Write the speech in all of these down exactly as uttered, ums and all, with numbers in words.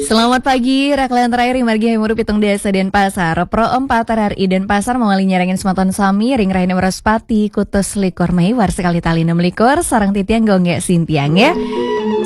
Selamat pagi, Raklan Rai, ring margi Hayam Wuruk pitung dasa Denpasar. Pro empat R R I Denpasar mawali nyarengin semeton sami ring rahina Wraspati, kutus likur Mei, warsa kalih tali enam likur, sareng titiang Gung Gek Sintiang, ya.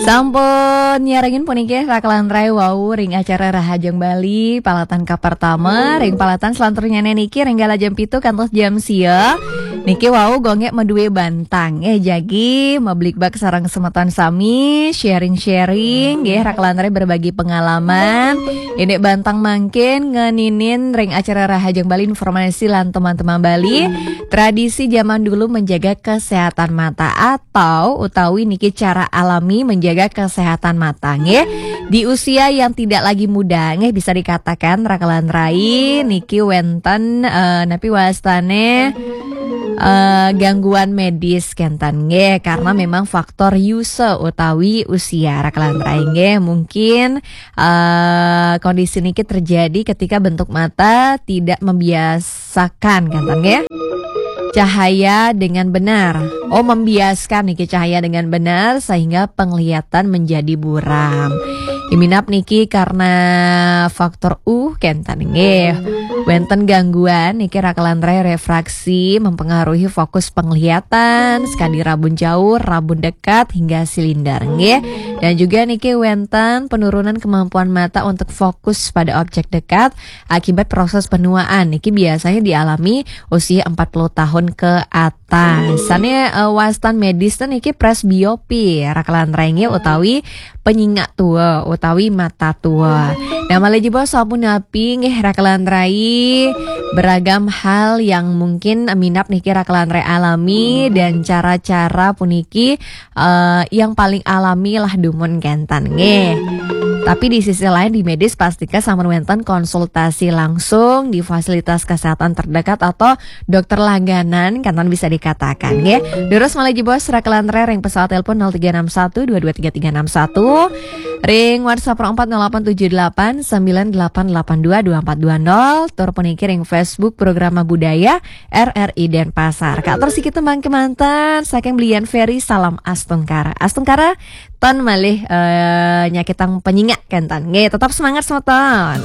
Sampun nyarengin puniki Raklan Rai wau ring acara Rahajeng Bali, palatan kapertama, ring palatan selanturnyané niki ring galah jam pitu kantos jam sia. Niki wau Gung Gek madué bantang, eh, jagi mabligbaté sareng semeton sami, sharing-sharing, nggih, Raklan Rai berbagi pengalaman. Indik bantang mangkin ngeninin ring acara Rahajeng Bali, informasi lan teman-teman Bali, tradisi zaman dulu menjaga kesehatan mata atau utawi niki cara alami menjaga kesehatan mata, nggih. Di usia yang tidak lagi muda, nggih, bisa dikatakan Raklan Rai niki wénten, eh, napi wastané, eh, gangguan medis kénten, nggih, karena memang faktor yusa utawi usia, Raklan Rai, nggih. Mungkin, eh, kondisi niki terjadi ketika bentuk mata tidak membiasakan, kénten, nggih, cahaya dengan benar. Oh, membiaskan niki cahaya dengan benar sehingga penglihatan menjadi buram. Iminap niki karena faktor U, kénten, nggih. Wénten gangguan niki Raklan Rai, refraksi mempengaruhi fokus penglihatan, sekadi rabun jauh, rabun dekat, hingga silinder, nggih. Dan juga niki wénten penurunan kemampuan mata untuk fokus pada objek dekat akibat proses penuaan. Niki biasanya dialami usia empat puluh tahun ke atas. Sané, eh, wastan medis niki presbiopi, Raklan Rai, nggih, utawi penyingak tua utawi mata tua. Nah, malih jebos sapunapi, nggih, Raklan Rai, beragam hal yang mungkin minab niki Raklan Rai alami dan cara-cara puniki, eh, yang paling alami lah dumun kénten, nggih. Tapi di sisi lain, di medis pastika sampun wénten konsultasi langsung di fasilitas kesehatan terdekat atau dokter langganan, kénten bisa dikatakan, nggih. Durus malih jebos Raklan Rai ring pesawat telepon nol tiga enam satu dua dua tiga tiga enam satu, ring WhatsApp nol empat nol delapan tujuh delapan sembilan delapan delapan dua dua empat dua nol, tur puniki ring Facebook Programa Budaya R R I Denpasar. Katur siki tembang kémanten saking Blian Ferry, Salam Astungkara. Astungkara, ton malih, eh, nyakitang penyingak kénten. Nggih, tetap semangat semeton.